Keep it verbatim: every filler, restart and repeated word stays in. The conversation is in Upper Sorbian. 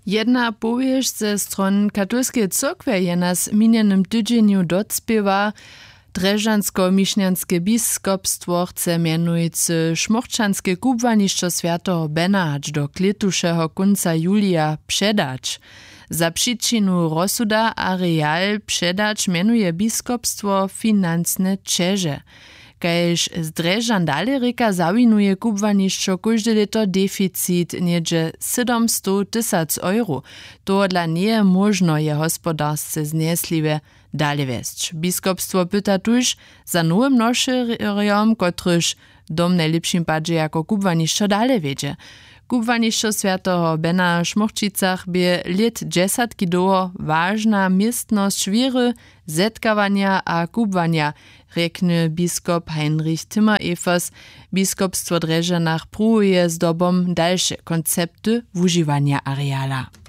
Jedna powěsć ze stron katolskeje cyrkwje je nas w minjenym tydźenju docpěła. Drježdźansko-mišnjanske biskopstwo chce mjenujcy šmórčanske kubłanišćo swjateho bena hač do klětušeho kónca julija předać. Za přičinu rozsuda areal předać mjenuje biskopstwo financne ćeže. Kaž z drježdźan dale rěka, zawinuje kubłanišćo kóžde lěto deficit něhdźe sydomstow tysac euro. Tohodla njeje móžno je hospodarsce znjesliwje dale wjesć. Biskopstwo pyta tuž za nowym nošerjom, kotryž dom w najlěpšim padźe jako kubłanišćo dale wjedźe. Kubłanišćo swjateho bena w šmórćicach bě lět dźesatki dołho wažna městnosć wěry, zetkawanja a kubłanja, rjekny biskop heinrich timmer-evers. Biskopstwo w drježdźanach pruwuje zdobom dalše koncepty wužiwanja areala.